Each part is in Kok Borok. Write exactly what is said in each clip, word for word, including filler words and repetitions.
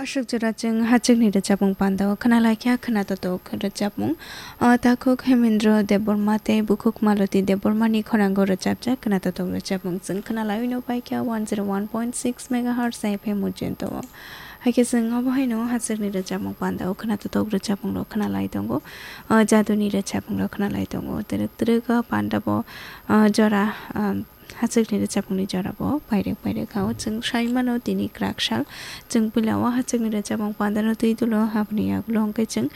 Aswk jora chwng hachwkni rwchapmung pandao khwnalaikha khwnatotok rwchapmung. O takhuk Hemendra Debbarma tei bukhuk Maloti Debbarmani khoranggo rwchapjak khwnatotok rwchapmung chwng khwnalaiwi no paikha one zero one point six megahertz F M mujento. Haikhe chwng obo haino hachwkni rwchapmung pandao khwnatotok rwchapmungrok khwnalai tongo. O jaduni rwchapmungrok khwnalai tongo. Twrwk twrwk o pandabo, o jora, o hachwkni rwchapmungni jorabo pairek pairek kha. O chwng sai mano tini kwrak sal. Chwng puila o hachwkni rwchapmung pandano twi dulo, aboni yagulo hwnkhe chwng,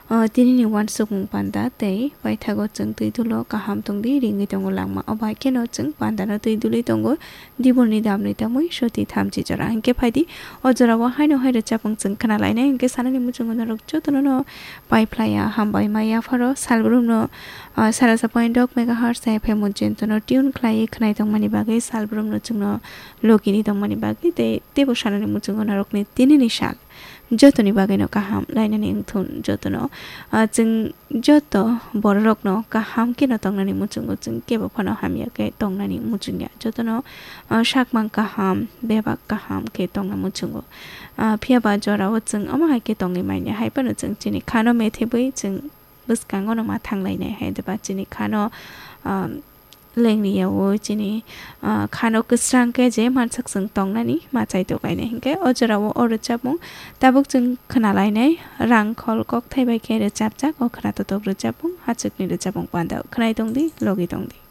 o, tinini uansukmung panda tei paithago chwng twi dulo kaham tongdi ringwi tongo langma. O bai kheno chwng pandano twi duli tongo dibolni damni tamwi soti thamchi jora. Hinkhe phaidi o jorao haino hai rwchapmung chwng khwnalainai hinkhe sanani muchungo norok jotono no paiphlaiya hambai ma yapharo salbrumno, ah, sarasa point dok megahertz F M mujento no tune khlaiwi khwnai tongmani bagwi salbrumno chwngno logini tongmani bagwi tei teibo sanani muchungo norokni tinini sal jotoni bagwino kaham lainani wngthun jotono, ah, chwng joto bororokno kaham kheno tongnani muchungo chwng kebo phano hamya khe tongnani muchungya jotono, ah, sakmang kaham bebak kaham khe tongna muchungo. Ah, phiyaba jorao chwng omo hai khe tongwi manya hai phano chwng chini khano methebwi chwng bwskango no ma thanglainai hai deba chini khano, um, lengriyawo chini, uh, khano kwsrang khe je mansak chwng tongnani ma chai tokainai hinkhe o jorao o rwchapmung tabuk chwng khwnalainai rang khol kokthai bai khe rwchapjak o khwnatotok rwchapmung hachwkni rwchapmung pandao khwnai tongdi logi tongdi.